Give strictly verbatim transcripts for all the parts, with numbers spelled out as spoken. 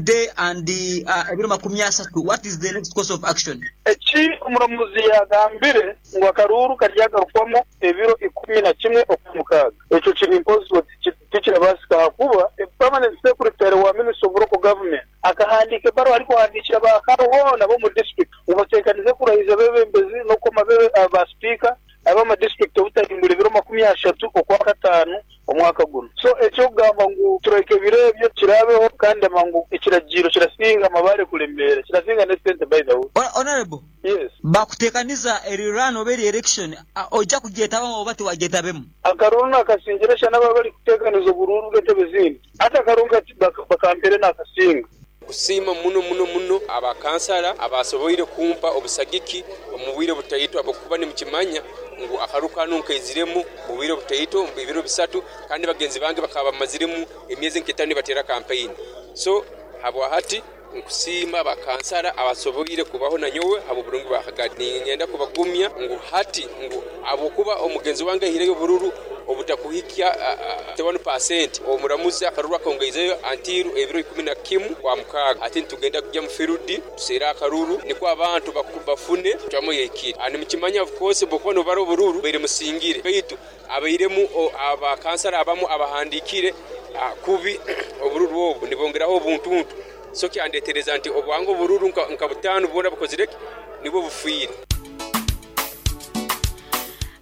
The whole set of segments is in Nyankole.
Today and uh, ebiro makumi asatu, what is the next course of action? Eki omuramuzi yagambire ngu akaruuru karyagarukwamu ebiro ikumi na kimwe okwamukaaga, ekyo kiri impossible, tikirabaasika ahakuba permanent secretary wa Ministry of Local Government akahandiika ebaruha arikuhandiikira ba C A O boona b'omu district ngu bateekanize kurahiza abeebembezi n'okukoma ba sipiika ab'ama district obutahimbura ebiro makumi ashatu okwa kataano omwaka guno. So eky'okugamba ngu turahika ebiro ebyo kirabeho, kandi amangu ekiragiro kirasinga amabaare kuremeera, kirasinga n'esente, by the way. Honorable. Yes. Bakuteekaniza eri run oba eri election, ojja kugyetabamu oba tiwagyetabeemu? Akaruuru nakasingira shana baba bari kuteekaniza oburuuru bw'entebe zindi. Hati akaruuru bakampere nakasinga. Kusiima muno muno muno abakansara abasoboire kumpa obusagiki omu bwire butaito, habwokuba nimukimanya ngu akaruuru kanu nkaiziremu mu bwire butaito, ebiro bisatu, kandi bagenzi bange bakaba bamaziremu emyezi nk'etaano nibateera kampeyini. So habwa hati nkusiima abakansara abasoboire kubaho nanyowe habw'oburungi bwa Kagadi. Ningenda kubagumya ngu hati ngu habwokuba omugenzi wange aihireyo obururu obutakuhikya one percent, omuramuzi akaruru akongeizeyo until ebiro ikumi na kimu kwa mukaaga. Ati nitugenda kujya mu field tuseere akaruru nikwo abantu bafune cwamu yahikire. Nimukimanya, of course, bwokuba nobara obururu baire musingire, baitu abairemu abakansara abamu abahandiikire kubi obururu obu nibongeraho obuntuntu, so kyandetereza nti obwange obururu nka butaano bwona bukozire ki nibwo bufiire.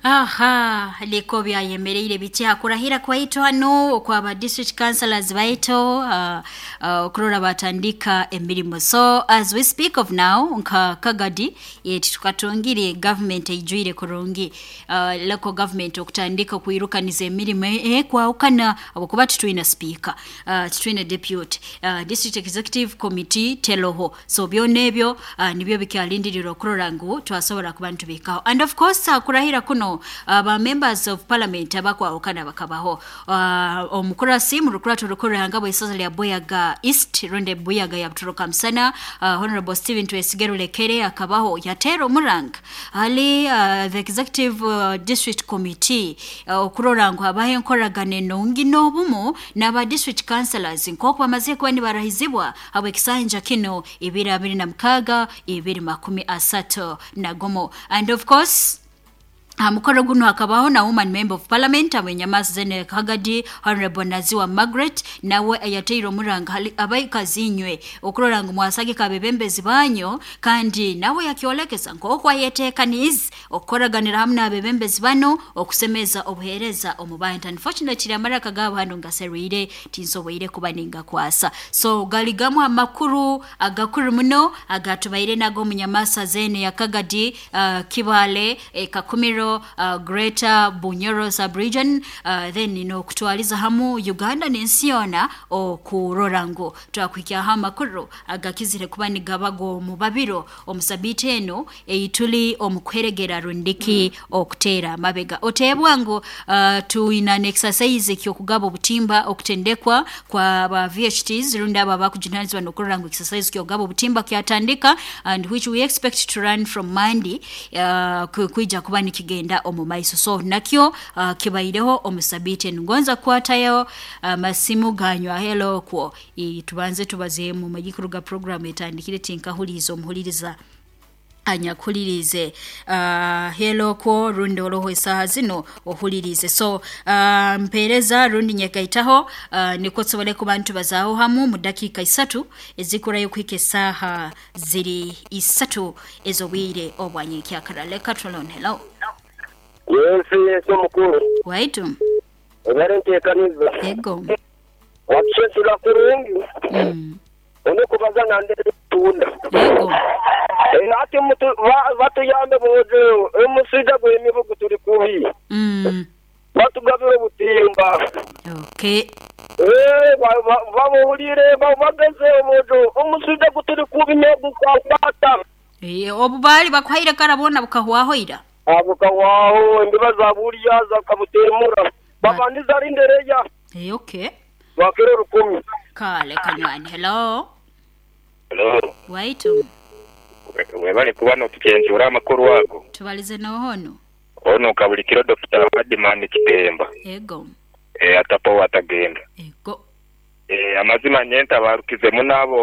Aha liko byayemereire biti hakurahira kwaitu hano okwaba district councillors baitu uh, uh, okurora batandika emirimu. So as we speak of now, nka Kagadi yetu tukatungire government eijwire kurungi, uh, local government okutandika kwirukaniza emirimu ekwawukana, abakuba titwina speaker, uh, titwina deputy, uh, district executive committee teloho. So byona ebyo uh, nibyo bikyalindirira okurora ngu twasobora kuba nitubikaho. And of course, uh, kurahira kuno aba uh, members of parliament abakwawukana bakabaho. uh, omukurasi mu rukurato rukuru bw'isaza lya Buyaga East rundi Buyaga ya Butoroka Musana, uh, Honorable Stephen Twesige Rulekere, akabaho yateera omuranga hali uh, the executive uh, district committee uh, okurora ngu habaho enkoragana enungi n'obumu n'aba district councillors nk'oku bamaze kuba nibarahizibwa habw'ekisanja kino ibiri abiri na mukaaga ibiri makumi asatu na gumu. And of course, mukoro guno hakabaho na woman member of parliament abenyamasi zene Kagadi, Honorable Naziwa Margaret, nawe ayateire omuranga abaikazi okurora ngu mwasagika abebembezi banyo, kandi nawe yakyolekesa nk'oku ayeteekanize okukoraganira hamwe n'abebembezi bano okusemeza obuheereza omu bantu. Unfortunately, amaraka gaabo hano ngaserwire, tinsoboire kuba ningakwasa. So gali gamu amakuru agakuru muno agatubaire nago munyamasa zene ya Kagadi, uh, Kibale, eh, Kakumiro, uh, Greater Bunyoro sub-region, uh, then n'okutwaliza hamu Uganda n'ensi yoona okurora ngu twakuhikyaho amakuru agakizire kuba nigabago omu babiro omu sabiiti eno eituli omu kuheregera rundiki okuteera amabega. Oteebwa ngu uh, twina n'exercise ky'okugaba obutimba, okutendekwa kwa ba V H Ts rundi abo abakujunanizibwa n'okurora ngu exercise ky'okugaba obutimba kyatandika, and which we expect to run from Monday, uh, kwija kuba nikigenda omu maiso. So nakyo uh, kibaireho omu sabiiti eno. Ngonza kukwatayo amasimu uh, ganywa. Hello kwo. Tubanze tubazeemu magikuru ga program etandikire, tinkahuliza omuhuliriza anyakuhulirize. uh, hello kwo rundi oroho esaaha zino ohulirize. So uh, mpeereza rundi nyegaitaho uh, nikwo tusobole kuba nitubazaaho hamu mu dakiika isatu ezikurayo kuhika esaaha ziri isatu ez'obwire obwanyenkyakara. Leka tulon. Hello. Yes, yes, omukulu. Waitu. Ebere nteekaniza. Ego. Watusesula kurungi. mm. Onekubaza nande tunda. Ego. Ati batuyambe boze omuswija gw'emibugu tuli kubi. mm. Batugabire obutimba. Okay Eh, babuhulire bageze obojo omuswija gutuli kubi negukwata. Eh, obu baali bakuhaire karabona bukahwaho ira. Bukahwaho, embiba zabulya zakabutemura babandiza rindereya. Eh, okay Bakiro rukumi. Kale kanywani. Hello. Hello. Waitu. Webale kuba notukyenzura amakuru ago. Tubalize nohono. Ono kabulikiro Doctor Badman Kitemba. Ego. Eh, atapo atagenda. Ego. Eh, amazima nyenta barukizemu nabo.